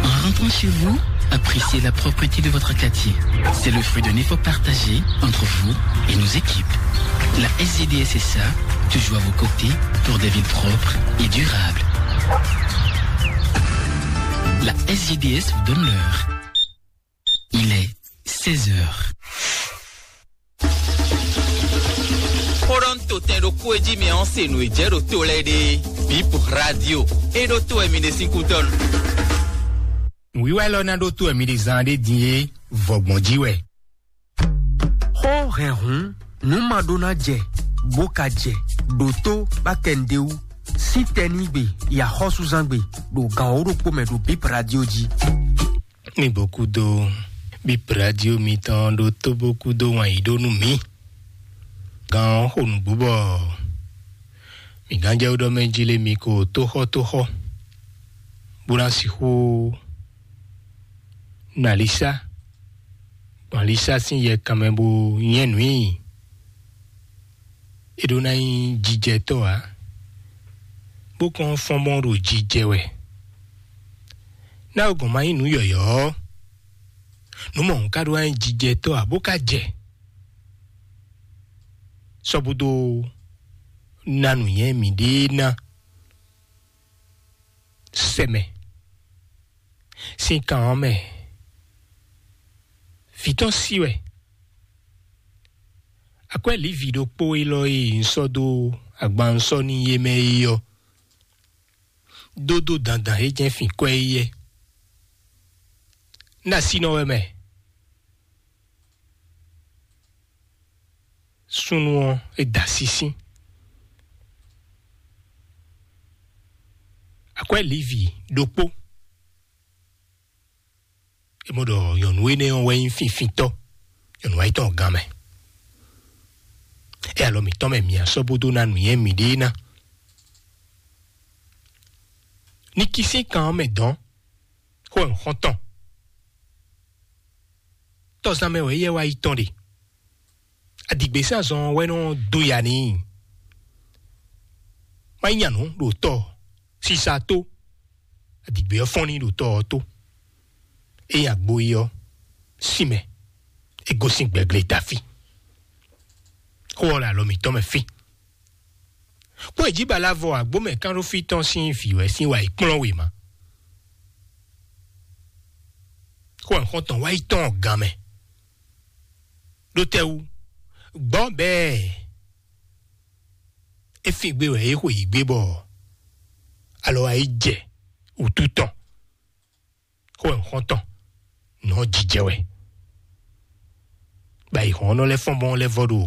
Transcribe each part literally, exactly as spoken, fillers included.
En rentrant chez vous, appréciez la propreté de votre quartier. C'est le fruit d'un effort partagé entre vous et nos équipes. La S G D S S A, toujours à vos côtés pour des villes propres et durables. La S G D S vous donne l'heure. Il est seize heures. Xó ɖɔ un to tɛn ɖokpó e jí mi ɔ́ se nǔ e jɛ ɖo to lɛ́ɛ ɖe. Bip Radio. E ɖo to wɛ mi ɖe sín kútɔ́ nu. Nǔwiwa élɔ́ ná ɖó to wɛ mi ɖe zán ɖé din é, vɔgbɔn jí wɛ. Xó hɛn hǔn, nǔ ma ɖó ná jɛ, bó ka jɛ, ɖo tó bá kɛ nǔɖé wú. Sín tɛnígbe, yi axɔ́súzángbe, ɖo gan wǒ ɖokpó mɛ ɖo Bip Radio jí. Mi bó kúdó Bip Radio mitɔn ɖo tó bó kúdó wǎn yí ɖó nú mǐ. Gán ɔ́ xo nǔgbó bɔ mǐ gán jɛ ɖɔ mɛ jí lé mi ko tóxɔ́tóxɔ́, bó ná sixú nɔ alisá, gbɔn alisá sín yɛ kanmɛ bó nyɛ́ nǔ i. É ɖó ná nyí jijɛtɔ́ ǎ, bó kɔn fɔ́n bɔn ɖo jijɛ wɛ. Ná o gɔn ma nyí nǔ yɔ̌yɔ́ ɔ́, nǔ mɔ̌hun ka ɖó ná nyí jijɛtɔ́ ǎ, bó ka jɛ sɔ́ búdó ná nǔnywɛ́ mǐɖée ná sɛ mɛ. Sín kan ɔ́ mɛ, vǐ tɔn sí wɛ. Akwɛ́ Lǐvi ɖokpó élɔ́ e un sɔ́ dó agban un sɔ́ n'i é mɛ é ɔ́, dó dó dandan é jɛ́n fin kwɛ́ é yɛ́. Un ɖo asínɔ wɛ mɛ. Súnnu ɔ́, é da sísí. Akwɛ́ Lǐvi ɖokpó. É mɔ ɖɔ nyɔ̌nu énɛ́ ɔ́ wɛ nyí finfintɔ́, nyɔ̌nu ayítɔn gán mɛ. É alɔ mǐtɔn mɛ mǐ asɔ́ bó dó ná nǔnywɛ́ mǐɖée ná. Ní kisín kan ɔ́ mɛ dɔn, xó wɛ un xɔ́n tɔn. Tɔzán mɛ wɛ éyɛ́ wá yi tɔn ɖe. Adigběsázɔn ɔ́ wɛ nɔ dó ya n'i. Má nyí nyanǔ ɖo tɔ sisa tó. Adigbě ɔ́ fɔ́n n'i ɖo tɔ ɔ́ tó. Ényí agbo yi ɔ́, sin mɛ, é gosín gbɛgle dó afí. Xó ɔ́ le alɔ mǐtɔn mɛ fí. Kpɔ́n è jí balavɔ agbómɛ kánɖófí tɔn sín vǐ wɛ sín wa yi kplɔ́n wěma. Xó wɛ xɔ́ntɔn wá yi tɔn gán mɛ. Ɖó tɛ́wú, gbɔ́ bɛɛ é fin gbé wɛ é xwe yi gbé bɔ alɔ wá yi jɛ wǔtu tɔn. Xó wɛ xɔ́ntɔn nɔ jijɛ wɛ. Bɔ ayǐhɔ́nnɔ lɛ́ɛ fɔ́n bɔn lɛ́ vɔ ɖo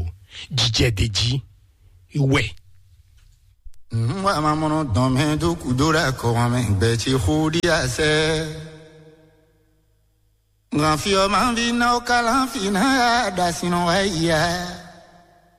jijɛ ɖe jí wɛ. Nwa mamɔnɔ dɔn mɛ dó kúdó ɖo akɔwan mɛ gbɛ ce xó ɖi asɛ. Ŋan fi ɔ́ ma vi na ó kalán fi ná ya ɖo asin nɔ wá yi ya.